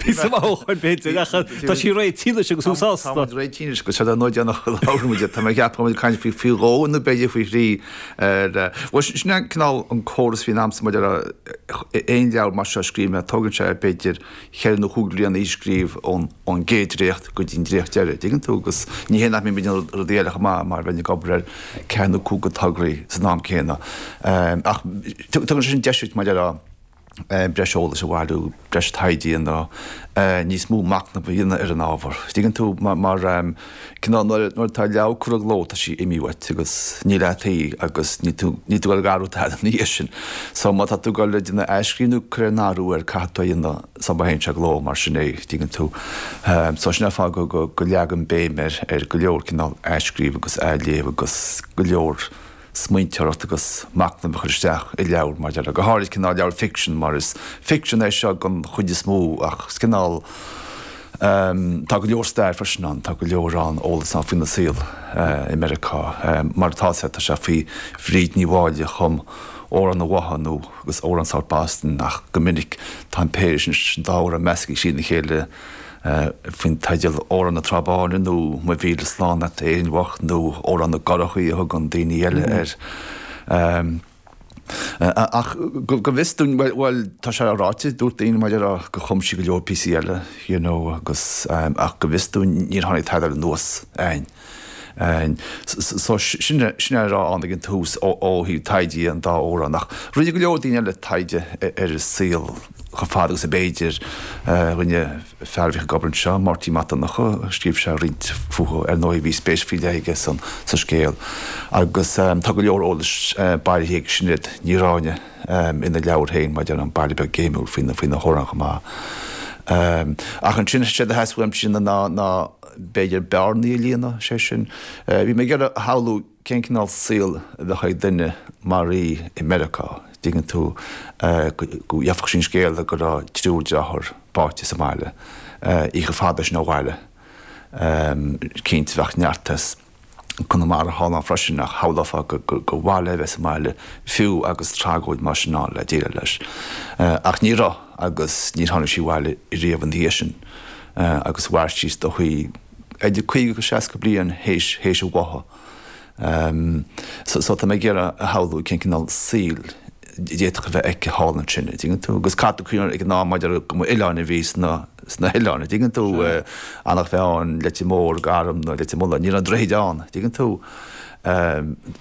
Píosa maith ó shoin b'fhéidir ach tá sí réitithe anois agus thú sásta. Tá muid réitithe anois agus seo an uair dheireanach a labhair muid. Tá mé ag ceapadh go raibh muid ag caint faoi faoi dhó nó b'fhéidir faoi thrí ar Bhuel sin é cineál an córas a bhíonn a'msa maidir le aon leabhar mar seo a scríobh mé, tógann sé b'fhéidir cheithre nó chúig bliana í a scríobh ón ón gcéad dréacht go dtí an dréacht deiridh, dtuigeann tú, agus ní hé nach mbím ag déanamh rudaí eile chomh maith mar bheinn ag obair ar ceathair nó cúig de tograí san am céanna. Ach tugann sé sin deis duit maidir le breis eolais a bhailiú, breis taighde a dhéanamh, níos mó machnamh a dhéanamh ar an ábhar. Tuigeann tú, mar cineál nuair atá leabhar curtha i gcló tá sí imithe uait agus níl agat í agus níl tú níl tú ag athrú tada ina dhiaidh sin. So má tá tú ag dul ag déanamh athscríobh nó cur aon athrú air caithfidh tú é a dhéanamh sula théann sé i gcló mar sin é, tuigeann tú. So sin an fáth go go go leagaim béim ar ar go leor cineál athscríobh agus athléamh agus go leor smaointeoireacht agus machnamh a chur isteach i leabhar mar déarfá, go háirid cineál leabhar ficsean mar is ficsean é seo den chuid is mó ach is cineál tá go leor stair freisin ann, tá go leor ann eolas ann faoina saol i Meiriceá. Mar atá sé, tá sé faoi Bhríd Ní Mháille a chum Amhrán an Bhotha nó agus Amhrán South Boston ach go minic tá an péire sin, an dá amhrán measctha trína chéile. faoin teideal Amhrán na Trá Báine nó Mo Mhíle Slán Leat a Éirinn Bhocht nó Amhrán na gCurachaí a thugann daoine eile air. Ach go bhfios dúinn, bhuel, tá sé ráite, dúirt daoine mar déarfá gur chum sí go leor píosaí eile, you know, agus ach go bhfios dúinn níor tháinig tada eile anuas againn. So sin é a raibh ann ag an tús ó thaobh taighde an dá amhrán. Ach rinne go leor daoine eile taighde ar a saol chomh fada agus ab fhéidir. Rinne fear a bhíodh ag obair anseo, Máirtín Mac Donncha, scríobh sé roinnt fúithi. Ar ndóigh bhí spéis faoi leith aige sa scéal. Agus tá go leor eolais bailithe ag Sinéad Ní Ráinne ina leabhar féin maidir le An Baile Beag Géimiúil faoi na hamhráin chomh maith. Ach ansin, séard a theastaigh uaimse ná b'fhéidir bearnaí a líonadh, sé sin, bhí mé ag iarraidh a shamhlú cén cineál saol a bheadh ag duine mar í i Meiriceá, dtuigeann tú, go gheobhadh sí an scéala go raibh triúr dearthár báite sa mbaile, í chomh fada sin ó bhaile, cinnte bheadh neart as. Conamara thall ann freisin ach shamhlófá gur mhaith léi a bheith sa mbaile fiú agus tragóid mar sin ann le déileáil leis. Ach ní raibh agus níor tháinig sí abhaile riamh ina dhiaidh sin agus mhair sí is dóichí idir 50 agus 60 bliain théis a bhátha. So tá mé ag iarraidh a shamhlú cén cineál saoil a d'fhéadfadh a bheith aici thall ansin, an dtuigeann tú? Agus caithfidh tú cuimhneamh ag an am maidir go mba oileáin a bhí sna sna hoileáin, an dtuigeann tú? Eanach Mheáin, Leitir Móir, Garm nó Leitir Mealláin, ní raibh na droichid ann, an dtuigeann tú?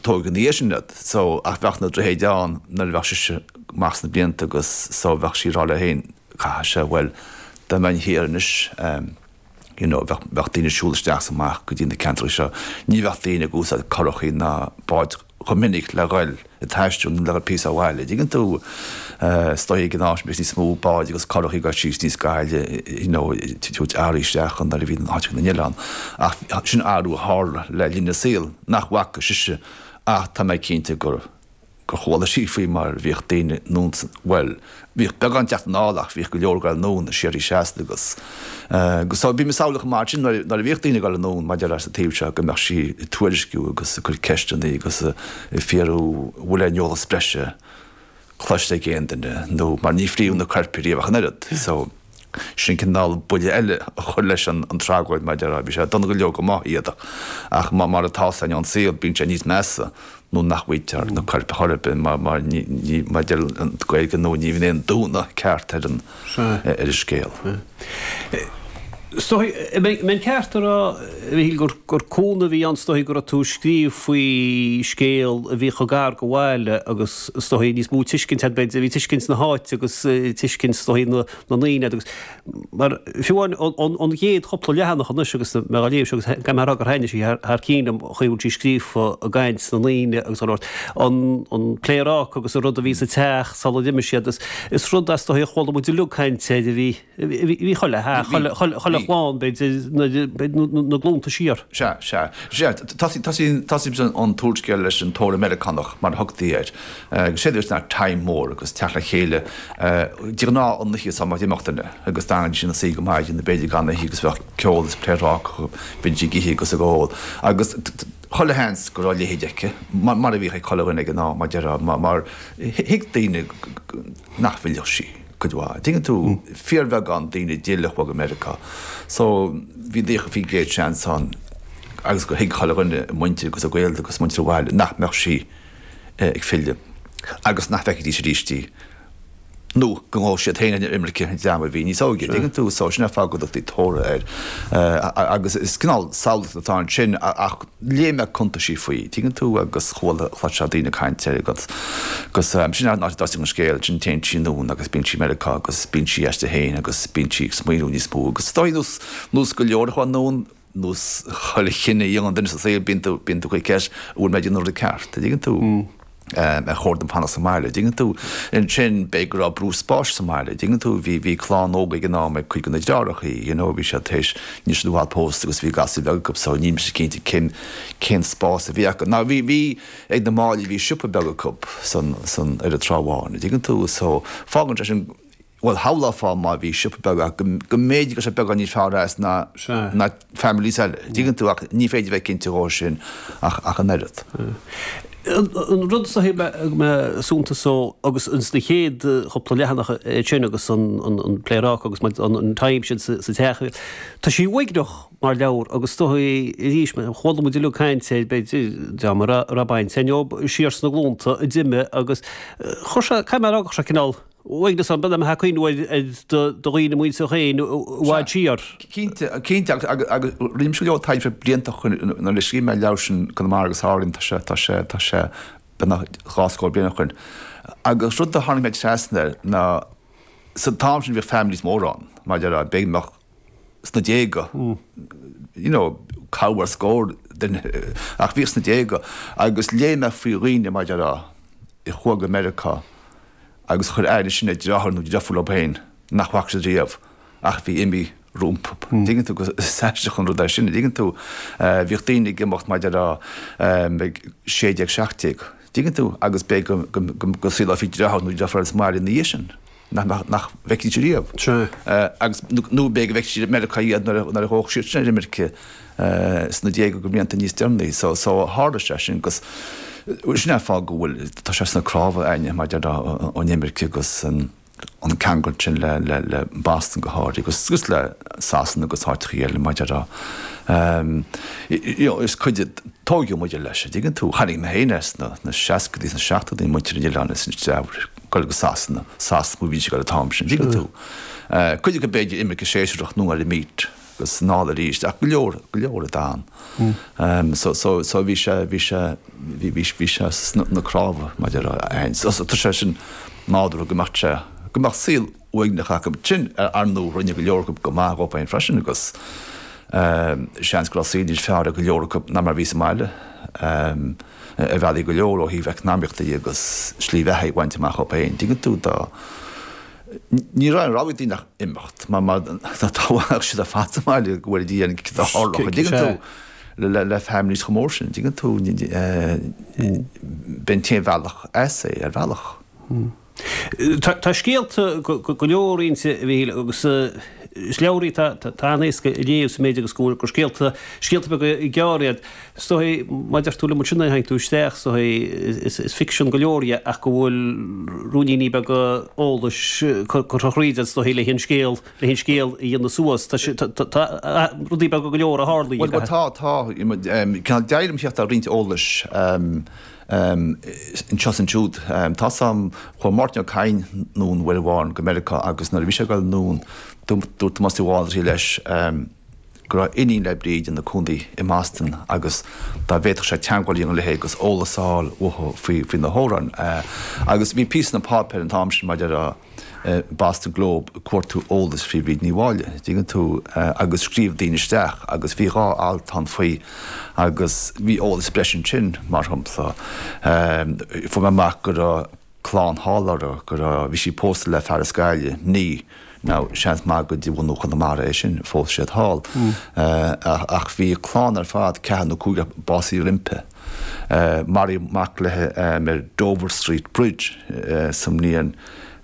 Tógadh ina dhiaidh sin iad, so ach bheadh na droichid ann nuair a bheadh sise amach sna blianta agus so bheadh sí ag rá léi féin, caithfidh sé, bhuel, dá mbeinn thiar anois, you know, bheadh, bheadh daoine ag siúl isteach is amach go dtí na ceantracha seo, ní bheadh daoine ag úsáid curachaí ná báid chomh minic le dhul ag taisteal nó le dhul píosa ó bhaile, dtuigeann tú, is dóigh ag an am sin bheadh níos mó báid agus curachaí ag dul síos níos gaire, you know, ag tabhairt earraí isteach nuair a bhí na háiteacha na n-oileán. Ach sin athrú a tharla le linn a saoil nach bhfaca sise ach tá mé cinnte gur gur chuala sí faoi mar bhíodh daoine anonn san, bhuel, bhíodh beagán teacht anall ach bhíodh go leor ag dul anonn siar is seasta agus, agus so bhí mé ag samhlú chomh maith sin nuair a bhíodh daoine ag dul anonn maidir leis an taobh seo go mbeadh sí ag tuairisciú agus ag cur ceisteanna agus ag fiafraí an bhfuil aon eolas breise cloiste ag aon duine nó mar ní fríodh na coirp riamh ach an oiread so sin cineál buille eile a chur leis an tragóid mar a déarfá bhí sé dona go leor go maith iad ach mar atá sé an saol bíonn sé níos measa nuair nach bhfaightear na coirp chor ar bith mar mar ní mar deir an Ghaeilge nó ní bhíonn aon dúnadh ceart ar an ar an scéal. Is dóigh, an mbeinn ceart a rá, a Mhichíl, gur gur cúnamh a bhí ann is dóigh go raibh tú ag scríobh faoi scéal a bhí chomh gar do bhaile agus is dóigh níos mó tuiscint agat b'fhéidir, bhí tuiscint na háite agus tuiscint is dóigh na na ndaoine agat agus Mar fiú amháin ón gcéad chúpla leathanach anois agus mé á léamh seo agus caithfidh mé a rá gur thaitnigh sí thar cinn liom an chaoi a bhfuil sí scríofa i gcaint na ndaoine agus an an pléaráca agus an rud a bhí sa teach sula d'imigh siad. Is rud is dóigh a chuala muid uilig caint air a bhí bhí chuile theach, chuile chlann b'fhéidir na glúnta siar. Sea, sea. Sea, tosaíonn an t-úrscéal leis an tórramh Meiriceánach mar a thugtaí air. Agus séard a bhí ná time mór agus teacht le chéile de ghnáth an oíche sula n-imeodh duine agus d'fhanaidís ina suí go maidin nó b'fhéidir gan ithe agus bheadh ceol is pléaráca bhídís ag ithe agus ag ól agus chuile sheans go raibh a leithéid aici mar a bhíodh ag chuile dhuine ag an am mar déarfá mar thuig daoine nach bhfillfeadh sí. cuid mhaith. Tuigeann tú, fíorbheagán daoine a d'fhill a chuaigh go Meiriceá. So, bhí daofa bhí an chéad seans ann agus gur thuig chuile dhuine, a muintir agus a gaolta agus muintir an bhaile, nach mbeadh sí ag filleadh agus nach bhfeicfidís arís í. nó go ngabhfadh siad féin ar imirce an dream a bhí níos óige, dtuigeann tú, so sin an fáth go dtugtaí tórramh air. Agus is cineál samhlaíocht atá ansin ach léigh mé cuntaisí faoi, tuigeann tú, agus chuala, chloisfeá daoine ag caint air agus agus sin an áit a dtosaíonn an scéal, ansin téann sí anonn agus bíonn sí i Meiriceá agus bíonn sí aisti féin agus bíonn sí ag smaoineamh níos mó agus is dóigh nós, nós go leor a chuaigh anonn, nós chuile chinneadh a dhéanann duine sa saol, bíonn tú, bíonn tú ag cur ceist, an bhfuil mé ag déanamh an rud ceart, an dtuigeann tú? Ar chóir dom fanacht sa mbaile, an dtuigeann tú? Ansin, b'fhéidir go raibh brú spáis sa mbaile, an dtuigeann tú? Bhí, bhí clann óg ag an am ag cuid de na deartháireacha, you know, bhí siad tar éis, níl siad i bhfad pósta agus bhí gasúir bheaga acu so níl mise cinnte cén, cén spás a bhí acu. Now bhí, bhí ag na Máillí, bhí siopa beag acu san, san, ar an Trá Bháin, an dtuigeann tú? So fágann sé sin, Bhuel, shamhlófá má bhí siopa beag acu go mb'fhéidir go raibh sé beagán níos fearr as ná ná families eile. Dtuigeann tú ach ní féidir bheith cinnte dhó sin ach ach an oiread. An rud is dóichí mé suntas ó agus ins na chéad chúpla leathanach sin agus an an pléaráca agus an time sin sa teach, tá sí uaigneach mar leabhar agus is dóichí arís chuala muid uilig caint air b'fhéidir dream a raibh baint leo siar sna glúnta a d'imigh agus chuir sé, caithfidh mé a rá go chuir sé cineál Uaigneas ann, b'fhéidir ag cuimhniú ar do dhaoine muinteartha féin i bhfad siar. Cinnte, cinnte, agus agus rinne mise go leor taighde blianta ó shin nuair a scríobh mé an leabhar sin Conamara agus Árainn, tá sé, tá sé, tá sé beagnach 20 scór bliain ó shin. Agus rud a tháinig mé trasna air ná sa t-am sin bhíodh families móra ann, mar a déarfá, b'fhéidir go mbeadh sna déaga, you know, corradh ar scór duine, ach bhíodh sna déaga agus léigh mé faoi dhaoine, mar a déarfá, a chuaigh go Meiriceá agus chuir aire sin ar dheartháir nó deirfiúr leo féin nach bhfaca siad riamh ach bhí imithe rompu. Dtuigeann tú, is aisteach an rud é sin, dtuigeann tú. Bhíodh daoine ag imeacht mar a déarfá ag 16, 17, dtuigeann tú, agus b'fhéidir go saolófaí deartháir nó deirfiúr sa mbaile ina dhiaidh sin nach nach bhfeicfidís riamh. Agus nó b'fhéidir go bhfeicfidís i Meiriceá iad nuair a ghabhfadh siad sin ar imirce. sna déaga go mblianta níos deireanaí. So, so tharla sé sin agus sin é an fáth go bhfuil, tá sé sna cnámha againne maidir le an imirce agus an an ceangal sin le, le, le Boston go háirithe agus, agus le Sasana agus áiteachaí eile maidir le you know, is cuid de, tógadh muid leis, an dtuigeann tú, chonaic mé féin é sna, sna seascaidí, sna seachtóidí, muintir an oileáin is an treabh ag dul go Sasana, Sasana a bhí siad ag dul an t-am sin, an dtuigeann tú. Cuid acu b'fhéidir imirce séasúrach nó ar imít. agus anall arís, ach go leor, go leor a d'fhan. So, so, so bhí sé, bhí sé, bhí, bhí, bhí sé sna cnámha maidir le aon, so, so tá sé sin nádúrtha go mbeadh sé, go mbeadh saol uaigneach acu. Sin, ar ndóigh, rinne go leor acu go maith dhóibh féin freisin agus seans go raibh saol níos fearr ag go leor acu ná mar a bhí sa mbaile ar bhealaí go leor ó thaobh eacnamaíochta dhe agus slí bheatha a bhaint amach dhóibh féin. Tuigeann tú dá. Ní raibh aon rogha ag daoine ach imeacht, mar mar dá bhfanfadh siad ar fad sa mbaile go bhfuil a Dhia cad a tharlódh, an dtuigeann tú, le le families chomh mór sin, an dtuigeann tú, b'é an t-aon bhealach as é, ar bhealach. Tá scéalta go leor inti, a Mhíchíl, agus is leabhar í atá an-éasca a léamh sa méid agus go bhfuil gur scéalta, scéalta beaga gearra iad. Is dóigh, mar a deir tú liom ansin nuair a tháinig tú isteach, is dóigh, is ficsean go leor dhe ach go bhfuil ruainníní beaga eolais curtha thríd is dóigh le an scéal, le an scéal a dhéanamh suas. Tá sé, tá, tá rudaí beaga go leor a tharlaigh. Bhuel, tá, tá. Cineál d'éirigh liom theacht ar roinnt eolais anseo is ansiúd. Tá 's a'm, chuaigh Máirtín Ó Cadhain anonn uair amháin go Meiriceá agus nuair a bhí sé ag dul anonn, dúirt Tomás Ó Málaithrí leis, go raibh iníon le Bríd ina cónaí i mBoston agus dá bhféadfadh sé teagmháil a dhéanamh léi agus eolas a fháil uaithi faoi faoi na hamhráin. Agus bhí píosa sna páipéir an t-am sin maidir le Boston Globe ag cuartú eolais faoi Bhríd Ní Mháille, dtuigeann tú, agus scríobh daoine isteach agus bhí 2 alt ann faoi agus bhí eolas breise ansin, mar shampla, fuair mé amach go raibh clann thall uirthi, go raibh, bhí sí pósta le fear as Gaillimh, ní, now seans maith gur de bhunadh Chonamara é sin, phós siad thall, ach bhí a clann ar fad, ceathrar nó cúigear, básaithe roimpi. Maraíodh mac léi ar Dover Street Bridge sa mbliain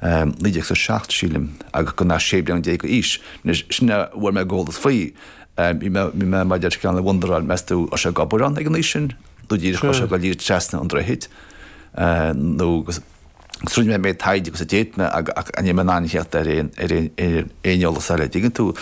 1907, sílim, agus gan ach 16 bliana d'aois. Anois, sin a bhfuair mé eolas faoi. Bhí mé, bhí mé mar a deir cineál ag wonderáil, meas tú, raibh sé ag obair ann ag an aois sin? Nó díreach raibh sé ag dul díreach trasna an droichid? Nó agus. Agus rinne mé an méid taighde agus a d'fhéad mé ach ní raibh mé in ann theacht ar aon eolas eile, an dtuigeann tú.